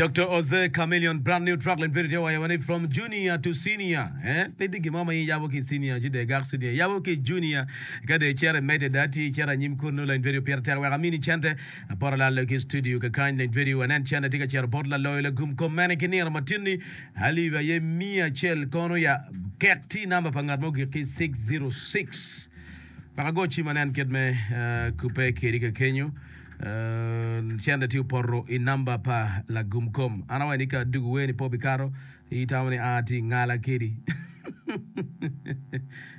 Doctor Jose Chameleon brand new track lent video tye waco ni from junior to senior eh pe tye gin mo ma in iyabo ki i senior ci dong igak senior iyabo ki i junior ka dong icito imedde dong atir icito anyim kunu lent video pire tek wek amini cente apoto lalo ki i studio kakany lent video anen cente tye ka cito bot laloyo lagum kom mene ki nino matinni alip aye miya acel kono ya kek tye i namba pa ngat ma ogik ki 606 wek ago cim anen kit me kubbe kedi kakenyo. Cente tye opoto i namba pa lagum kom. An awaco ni ka adugu wer ni pe obikato, itamo ni aa atye ingala kedi.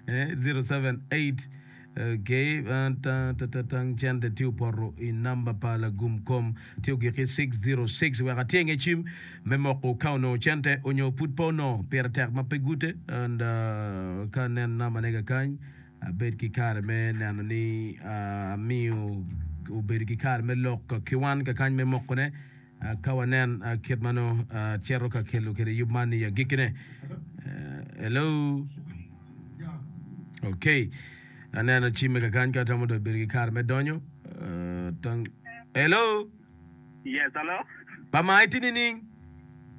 078 okay, tang cente tye opoto i namba pa lagum kom tye ogik ki 606 wek atyenge cim me moko ka onongo cente onyo pud pe onongo. Pire tek ma pe gute and uh, ka nen namba ne kakany. Abed ki kare me neno ni amiyo obedo ki kare me lok ki wan kakany me mokone ka wanen kit ma nongo cito ka kelo kwede yub man i agikkine. Hello. Okay. Aneno cimme kakany ka atamo dong bedo ki kare me donyo. Hello. Yes, hello. Pa ma itye nining?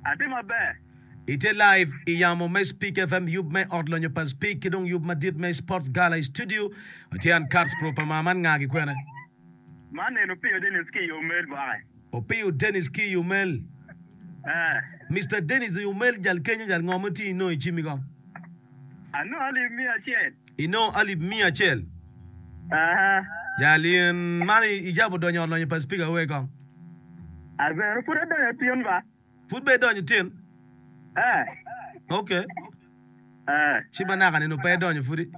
Atye maber. Itye live i yamo me Speak FM yub me ot lonyo pa Speak ki dong yub madit me Sports Gala i studio. Watye an Kats Pro pa maa man nga ki kwene? Man en Opiyo Dennis ki i Omel bwake. Opiyo Dennis ki i Omel. Eh. Mister Dennis i Omel jal kenyo jal ngo ma tye inongo i cimmi kong? Anongo alip miya acel. Inongo alip miya acel? Aha. Jal in man ijabo donyo ot lonyo pa Speaker we kong? Abeno pud adonyo tin ba. Pud be idonyo tin? Eh. Ok. Eh. Ci manaka nino pe idonyo pudi?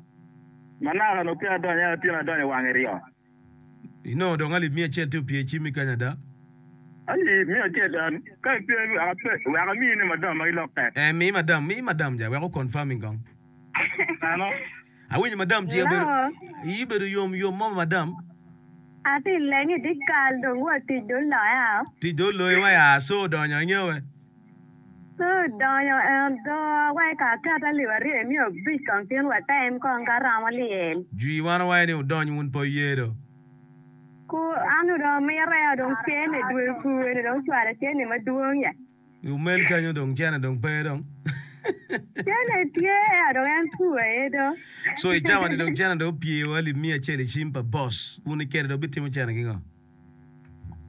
Manaka nongo pe adonyo ento tin adonyo wange ryo. Inongo dong alip miya acel tye opye i cimmi kany ada? Alip miya acel an ka ipe wek amiyi ni madam ma gilokke. Eh mi madam, mi madam ja wek o confirming kong. Ano? Awinyo madam ci obedo iyi bedo yom yom mo madam. Atye leng i dyekal dong wa tic dong oloya. Tic dong oloyi wa ya so odonyo inge we. So odonyo en do wa ka aket alip aryo imiyo abic kong tin wa tem kong ka romo lyel. Jwi wan owaco ni wudony wun pe wuye do. Ku an dong amite dong cene dwe pur eni dong ocwalo cene madwong ya. I omel kenyo dong cene dong pe dong. Cene tye ea dong en pur aye do. So i cawa ni dong cene dong opye wa alip miya acel i cim pa boss. Wun i kede dong bitimo cene ki ngo?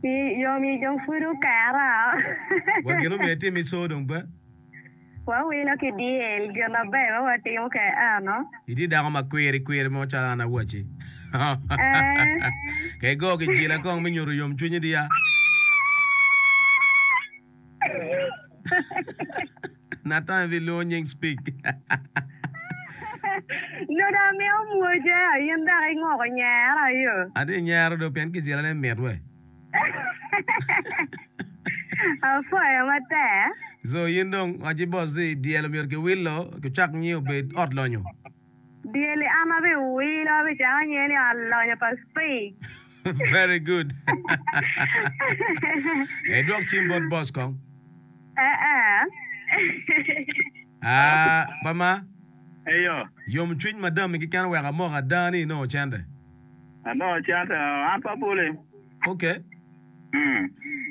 I yom i dong pud okera. Wa gin omiyo itim i so dong pe. Wawilo ki dyel gin maber ma watimo ke eno. Itye dako ma kwiri kwiri mo calo an awaci. Eh. Ka igo kijila kong me nyuto yomcwinyi diya. Nathan ibilwongo nying speak. Nongo amiyo mwoce in dok ingoko nyero yo. Atye nyero do pien kijila ne mit we. Apwoyo matek. So in dong waci boss ni dyel omyero ki wilo ki cak nyiyo obed ot lonyo. Dyel i an abi wilo abi cako nyiyo ni ot lonyo pa Spig. Very good. Idwok cim bot boss kong. Ee. Ah, pa ma. Eyo. Yom cwiny madam-mi keken oweko amoko ada ni inongo cente. Anongo cente, an pe aboli. Ok.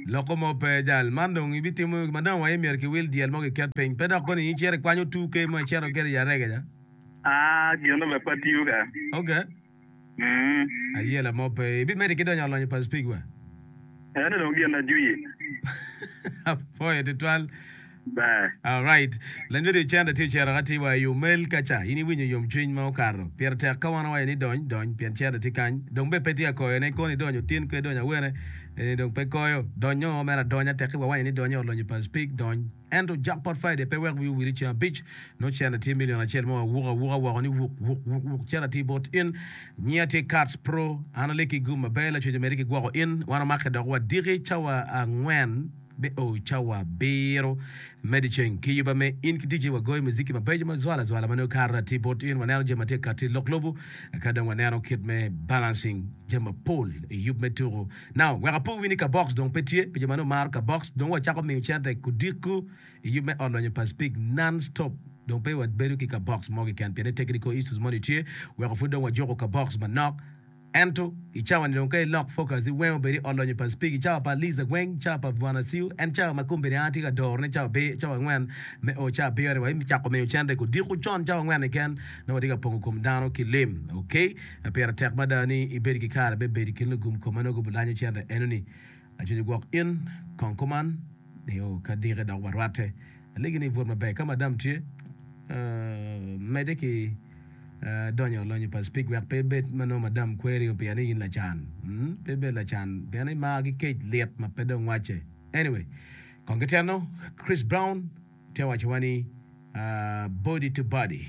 Loko mo pe jal. Man dong ibitimo madam wa myero kiwil dyel mo kiket piny. Pe dok koni icito ikwanyo 2K mo icito ikete i arega ca. Ah, gin bene pe atiyo ka. Ok. Ayela mo pe. Ibimedde ki donyo alonyo pa Spig wa? Eno dong gin ajwi. Apwoyo tutwal. Ber. Alright. Lany radio cente tye ocito ka tye wa i omel ka ca. In iwinyo yomcwiny ma okato. Pire tek ka wan owaco ni dony, dony pien cente tye kany. Dong be pe tye ka koyo ne kono idonyo otin kwe idonyo awene. Eni dong pe koyo. Donyo mere adonya tekki wawaco ni dony i ot lonyo pa Spig, dony. Ento Jackpot Friday pe wek wiyi owil i ceng abic nongo cente tye million acel ma wawuko awuka woko ni wuk wuk wuk wuk cente atir bot in. Nyinga tye Kats Pro. An aleki gum maber lacwec omedde ki gwoko in. Wan omake dok wadiki cawa angwen me o cawa abiro me dyeceng ki yuba me in ki ticci wagoyo muziki mabeco ma zwala zwala ma nongo kato atir bot in waneno jami ma tye ka kati lok lobo ka dong waneno kit me balancing jami mapol i yub me tuku. Now wek apo wi ni kabox dong pe tye pi jo ma nongo maro kabox dong wacako miyo cente kudiko i yub me ot lonyo pa Speke non stop dong pe wabedo ki kabox mo keken pien ni technical issues moni tye weko pud dong wajuko kabox manok. Ento i cawa ni dong ka ilok focus i weng obed i ot lonyo pa Speke i cawa pa Liza Gweng, cawa pa Bwana Siu, en cawa ma kombeddi an atye ka doro ne cawa cawa angwen me o cawa abiro ni wa cako miyo cente kodiko con cawa angwen keken nongo watye ka pongo kom dano ki lim. Ok, pire tek mada ni ibed ki kare me bedo i kin lugum kom ma nongo gubilanyo cente eno ni. Acoco gwok in kong kuman nio ka dike dok warwatte. Alegi ni ibwot maber. Ka madam tye, medde ki donyo lonyo pa Speke wek pe ibed ma nongo madam kweri pien ni in lacan. Pe ibed lacan pien imar ki kec lit ma pe dong wacce. Anyway, kong ki teno, Chris Brown tye wacowa ni body to body.